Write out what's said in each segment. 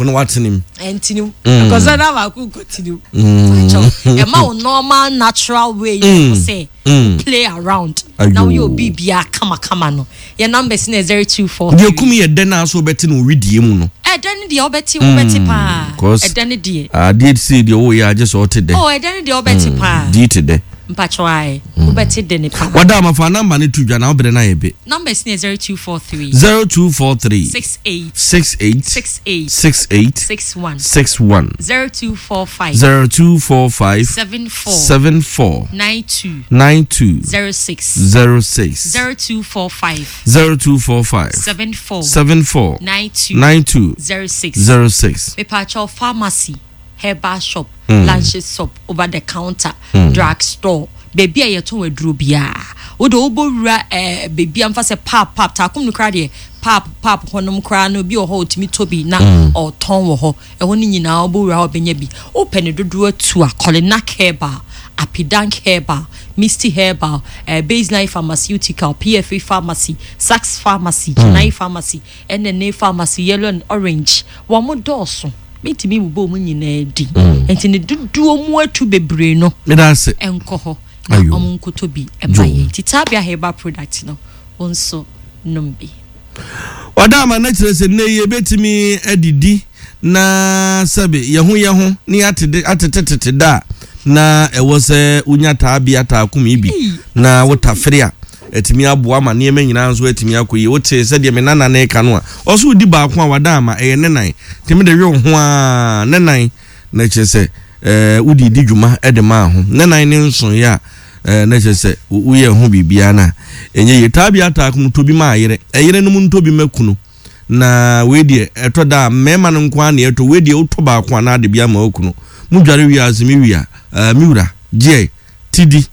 Na watene mu. Ɛntene mu. Ɛkɔsɛ na baako nkɔtene mu. Ɛma wo normal natural way yɛ mm. sɛ mm. play around. Na woyɛ obi bia kamakama no. Yɛ numbers no yɛ 0243. Deɛ kum yɛ dɛ na so wobɛte no widie mu no. Ɛdɛ no deɛ wobɛte wobɛte paa. Ɛdɛ no deɛ. Adeɛ sei deɛ woyɛ agye sɛ ɔte dɛ. Oh ɛdɛ no deɛ wobɛte paa. Di te dɛ. Mpakyɛw ae, wobɛte dɛ ne paa. Wada ama fa number no to dwa na wo bere no ayɛ be. Numbers no yɛ 0243. 0243. 68. 68. 68. 68. 61. 61. 0245. 0245. 74. 74. 92. 92. 06. 06. 0245. 0245. 74. 74. 92. 92. 06. 06. Mepakyɛw pharmacy. herbal shop, lunch shop, over the counter, drug store, baabi a yɛtɔn aduro biara. Wo de wobɔ wura eh, baabi a mfa sɛ pap pap taakom no koraa deɛ pap pap hɔnom koraa no obi wɔ hɔ otumi tɔ bi na ɔtɔn wɔ hɔ. Ɛhɔ no nyinaa wobɔ wura hɔ bɛnya bi. Wopɛ ne dodoɔ atu a, Kolinak Herbal, Apidank Herbal, Misty Herbal, eh, Baseline Pharmaceutical, PFA Pharmacy, Sachs Pharmacy, Chennai Pharmacy, ɛna ne Pharmacy, Yellow and Orange. Wɔn dɔɔso. Mentumi mmobɔ wɔn nyinaa din. Enti ne dodoɔ mu atu bebree no nkɔ hɔ na wɔn nkɔtɔ bi mma yɛn. Nti Tabia Herbal product no, wo nso nom bi. Ɔda ama no kyerɛ sɛ nnɛ yi yɛbɛtumi adidi na sɛbe yɛho yɛho ne yɛatete atetetete da a na ɛwɔ sɛ wonya taabea taakum yi bi na wotafere a atumi aboa ma nneɛma nyinaa nso atumi akɔ yie. Wotee sɛdeɛ me nana no reka no a, ɔse wodi baako a wada ama, ɛyɛ ne nan. Nti mede we wo ho ara, ne nan, na kyerɛ sɛ eh, wode di dwuma de maa ho. Ne nan ne nsoeɛ a, eh, na kyerɛ sɛ woyɛ ho biribiara no a, ɛnyɛ yie. Taa bi ataa ko tɔ bi ma ayere, ɛyere nom ntɔ bi ma kunu. Na wei deɛ, ɛtɔ da a, mmarima no nko ara na ɛtɔ. Wei deɛ, wotɔ baako a na ade bi ama wo kunu. Modware wie a, ɔse me wia, eh, me wura, gyeɛ, ti di.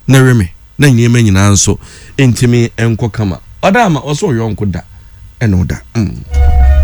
na we me na nneɛma nyinaa nso ntumi nkɔ kama. Ɔda ama ɔsɛ ɔyɔnko da ɛna ɔda. Mm.